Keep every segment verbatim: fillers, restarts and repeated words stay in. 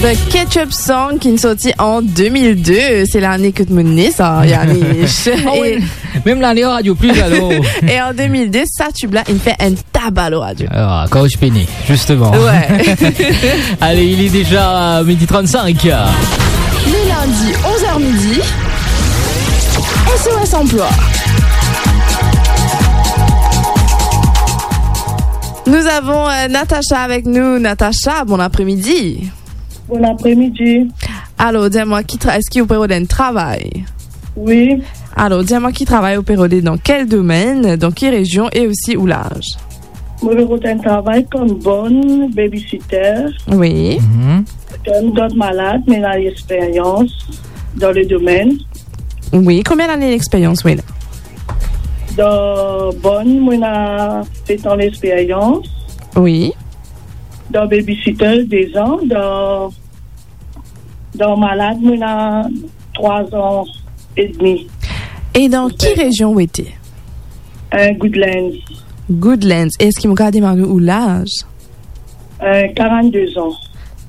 The Ketchup Song ki sorti an de mil de, se lane kot mo ne sa, Yanish. Ah oui. E mem lane Radio Plus, alor. E an de mil de, sa tib la inn fer enn taba lor radio. Ah, kan ou ti pe ne, zisteman. Ouais. Allez, il est déjà midi trente-cinq. Le lundi, onze heures midi, S O S Emploi. Nous avons, euh, Natacha avec nous. Natacha, bon après-midi. Bon après-midi. Alors, dis-moi, qui tra-, est-ce que vous pouvez donner un travail ? Oui. Alors, dis-moi, qui travail vous pouvez donner, dans quel domaine, dans quelle région et aussi où l'âge ? Mo pe rod enn travay kom bonn, babysitter. Oui. Mhm. Kan gard malad, mo ena lexperyans dan le domenn. Oui, combien d'années d'expérience, oui, là ? Dan bonn, mo ena set an lexperyans. Oui. Dan babysitter, de zan. Dan, dan malad, mo ena trwa zan edmi. E dan ki rezion ou ete? Euh, Goodlands. Goodlands. E eski mo kapav demann ou laz? Euh, quarante-deux ans.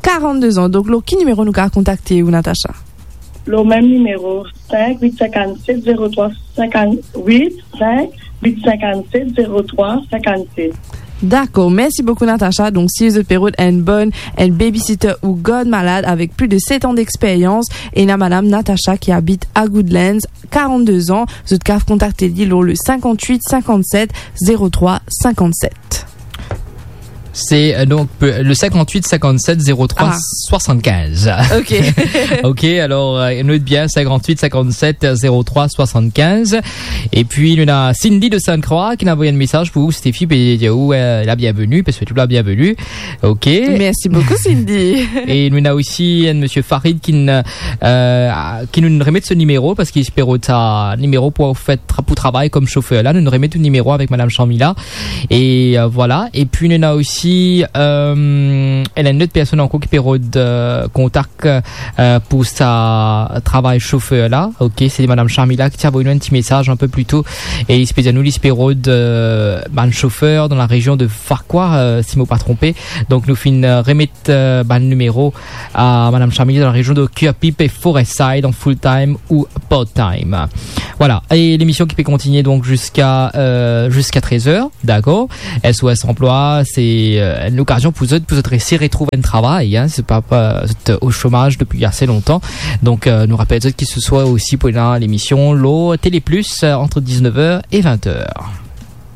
Quarante-deux ans. Donk, lor ki nimero nou kapav kontakte ou, Natacha? Lor mem nimero, cinq huit cinquante-sept zéro trois cinquante-huit, cinq huit cinquante-sept zéro trois cinquante-sept. Dakor, mersi boukou, Natacha. Donk, si zot pe rod enn bonn, enn babysitter ou gard malad avek plis de set an dexperyans, ena madam Natacha ki abit a Goodlands, quarante-deux ans, zot kapav kontakte li lor le cinquante-huit cinquante-sept zéro trois cinquante-sept. C'est, euh, donc, euh, le cinquante-huit cinquante-sept zéro trois soixante-quinze. Ah. Ok. Ok, alors, euh, note bien, cinquante-huit cinquante-sept zéro trois soixante-quinze. Et puis, nou ena Cindy de Sainte-Croix ki inn avoy enn mesaz pou ou, Stéphie, pe dir ou, euh, la bienvenue, pe swet ou la bienvenue. Ok. Merci beaucoup, Cindy. E nou ena osi enn monsieur Farid ki inn, euh, ki nou remet so nimero, parski li pe rod sa nimero pou fer tra-, pou travay kom sofer la. Nou remet ou nimero avek madam Sharmila. E, euh, voilà. E pi, nou ena osi, euh, ena enn lot personn ankor ki pe rod, euh, kontak, euh, pou sa travay sofer la. Ok, se madam Sharmila ki ti avoy nou enn ti mesaz enn pe pli to. E li ti pe dir nou, li ti pe rod, euh, bann sofer dan la rezion de Farquhar, euh, si mo pa tronpe. Donk, nou finn, euh, remet, euh, bann nimero a madam Sharmila dan la rezion de Curepipe e Forestside, an full time ou part time. Voilà. E lemision ki pe kontinie, donk, ziska, euh, ziska trez er. Dakor. S O S Emploi, se, euh, enn lokazion pou zot, pou zot resi retrouv enn travay, hein. Se pa, pa, zot o somaz depi ase lontan. Donk, euh, nou rapel zot ki se swa osi pou ena lemision lor Télé Plus, euh, ant diznef er e vent er.